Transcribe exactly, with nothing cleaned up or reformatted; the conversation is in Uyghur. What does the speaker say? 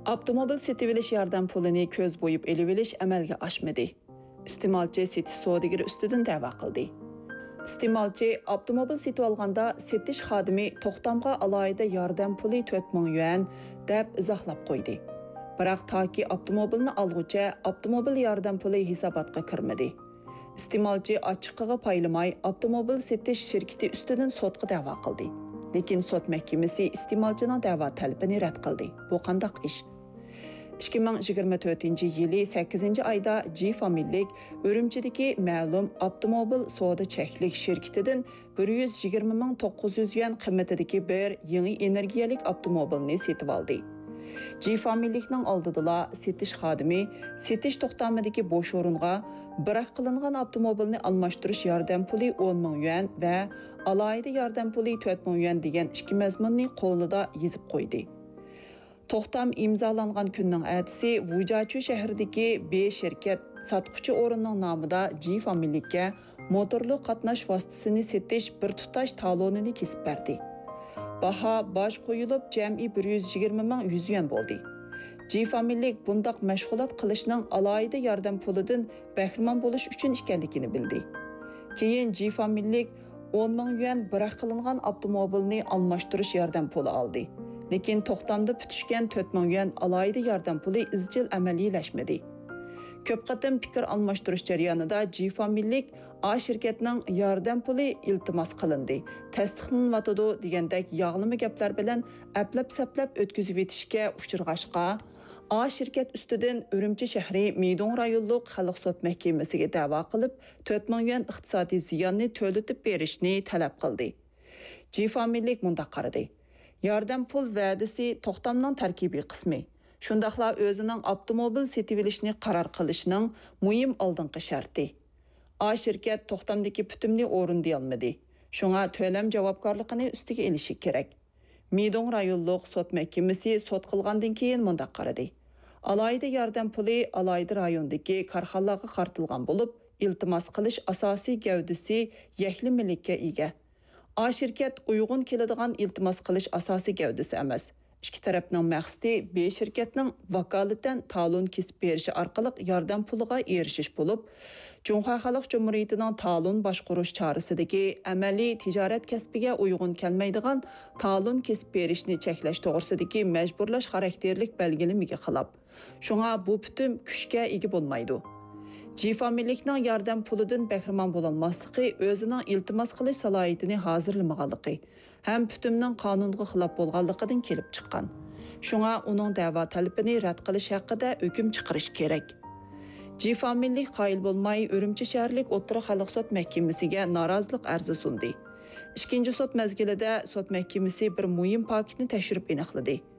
ئاپتوموبىل سېتىۋېلىش ياردەم پۇلىنى كۆز بوياپ ئېلىۋېلىش ئەمەلگە ئاشمىدى. ئىستېمالچى سېتىش سودىگىرى ئۈستىدىن دەۋا قىلدى. ئىستېمالچى ئاپتوموبىل سېتىۋالغاندا سېتىش خادىمى توختامغا ئالاھىدە ياردەم پۇلى تۆت مىڭ يۈەن دەپ ئىزاھلاپ قويدى. بىراق تاكى ئاپتوموبىلنى ئالغۇچە ئاپتوموبىل ياردەم پۇلى ھېساباتقا كىرمىدى. ئىستېمالچى ئاچچىقىغا پايلىماي ئاپتوموبىل سېتىش شىركىتى ئۈستىدىن سوتقا دەۋا قىلدى. لېكىن سوت مەھكىمىسى ئىستېمالچىنىڭ دەۋا تەلىپىنى رەت قىلدى. بۇ قانداق ئىش؟ ئىككى مىڭ يىگىرمە تۆتىنچى يىلى سەككىزىنچى ئايدا جى فامىلىلىك ئۈرۈمچىدىكى مەلۇم ئاپتوموبىل سودا چەكلىك شىركىتىدىن بىر يۈز يىگىرمە مىڭ توققۇز يۈز يۈەن قىممىتىدىكى بىر يېڭى ئېنېرگىيەلىك ئاپتوموبىلنى سېتىۋالدى. جى فامىلىلىكنىڭ ئالدىدىلا سېتىش خادىمى سېتىش توختامىدىكى بوش ئورۇنغا بىراق قىلىنغان ئاپتوموبىلنى ئالماشتۇرۇش ياردەم پۇلى ئون مىڭ يۈەن ۋە ئالاھىدە ياردەم پۇلى تۆت مىڭ يۈەن دېگەن ئىككى مەزمۇننى قولىدا يېزىپ قويدى. توختام ئىمزالانغان كۈننىڭ ئەتىسى ۋۇجاچۈ شەھىرىدىكى بې شىركەت ساتقۇچى ئورۇننىڭ نامىدا جى فامىلىلىككە موتورلۇق قاتناش ۋاسىتىسىنى سېتىش بىر تۇتاش تالونىنى كېسىپ بەردى. باھا باج قويۇلۇپ جەمئىي بىر يۈز يىگىرمە مىڭ يۈز يۈەن بولدى. جى فامىلىلىك بۇنداق مەشغۇلات قىلىشنىڭ ئالاھىدە ياردەم پۇلىدىن بەھرىمەن بولۇش ئۈچۈن ئىكەنلىكىنى بىلدى. كېيىن جى فامىلىلىك ئون مىڭ يۈەن بىراق قىلىنغان ئاپتوموبىلنى ئالماشتۇرۇش ياردەم پۇلى ئالدى. لېكىن توختامدا پۈتۈشكەن تۆت مىڭ يۈەن ئالاھىدە ياردەم پۇلى ئىزچىل ئەمەلىيلەشمىدى. كۆپ قېتىم پىكىر ئالماشتۇرۇش جەريانىدا جى فامىلىلىك ئا شىركەتنىڭ ياردەم پۇلى ئىلتىماس قىلىندى، تەستىقلىنىۋاتىدۇ دېگەندەك ياغلىما گەپلەر بىلەن ئەپلەپ-سەپلەپ ئۆتكۈزۈۋېتىشكە ئۇچرىغاچقا، ئا شىركەت ئۈستىدىن ئۈرۈمچى شەھىرى مىدۇڭ رايونلۇق خەلق سوت مەھكىمىسىگە دەۋا قىلىپ، تۆت مىڭ يۈەن ئىقتىسادىي زىياننى تۆلىتىپ بېرىشنى تەلەپ قىلدى. جى فامىلىلىك مۇنداق قارىدى: ياردەم پۇل ۋەدىسى توختامنىڭ تەركىبىي قىسمى، شۇنداقلا ئۆزىنىڭ ئاپتوموبىل سېتىۋېلىشنى قارار قىلىشنىڭ مۇھىم ئالدىنقى شەرتى. ئا شىركەت توختامدىكى پۈتۈمنى ئورۇندىيالمىدى، شۇڭا تۆلەم جاۋابكارلىقىنى ئۈستىگە ئېلىشى كېرەك. مىدۇڭ رايونلۇق سوت مەھكىمىسى سوت قىلغاندىن كېيىن مۇنداق قارىدى: ئالاھىدە ياردەم پۇلى ئالاھىدە رايوندىكى كارخانىلارغا قارىتىلغان بولۇپ، ئىلتىماس قىلىش ئاساسىي گەۋدىسى يەكلىمىلىككە ئىگە. ئا شىركەت ئۇيغۇن كېلىدىغان ئىلتىماس قىلىش ئاساسىي گەۋدىسى ئەمەس. ئىككى تەرەپنىڭ مەقسىتى بې شىركەتنىڭ ۋاكالىتەن تالون كېسىپ بېرىشى ئارقىلىق ياردەم پۇلىغا ئېرىشىش بولۇپ، جۇڭخۇا خەلق جۇمھۇرىيىتىنىڭ تالون باشقۇرۇش چارىسىدىكى ئەمەلىي تىجارەت كەسپىگە ئۇيغۇن كەلمەيدىغان تالون كېسىپ بېرىشنى چەكلەش توغرىسىدىكى مەجبۇرلاش خاراكتېرلىك بەلگىلىمىگە خىلاپ. شۇڭا بۇ پۈتۈم كۈچكە ئىگە بولمايدۇ. جى فامىلىلىكنىڭ ياردەم پۇلىدىن بەھرىمەن بولالماسلىقى ئۆزىنىڭ ئىلتىماس قىلىش سالاھىيىتىنى ھازىرلىمىغانلىقى ھەم پۈتۈمنىڭ قانۇنغا خىلاپ بولغانلىقىدىن كېلىپ چىققان. شۇڭا ئۇنىڭ دەۋا تەلىپىنى رەت قىلىش ھەققىدە ھۆكۈم چىقىرىش كېرەك. جى فامىلىلىك قايىل بولماي، ئۈرۈمچى شەھەرلىك ئوتتۇرا خەلق سوت مەھكىمىسىگە نارازىلىق ئەرزى سۇندى. ئىككىنچى سوت مەزگىلىدە سوت مەھكىمىسى بىر مۇھىم پاكىتنى تەكشۈرۈپ ئېنىقلىدى.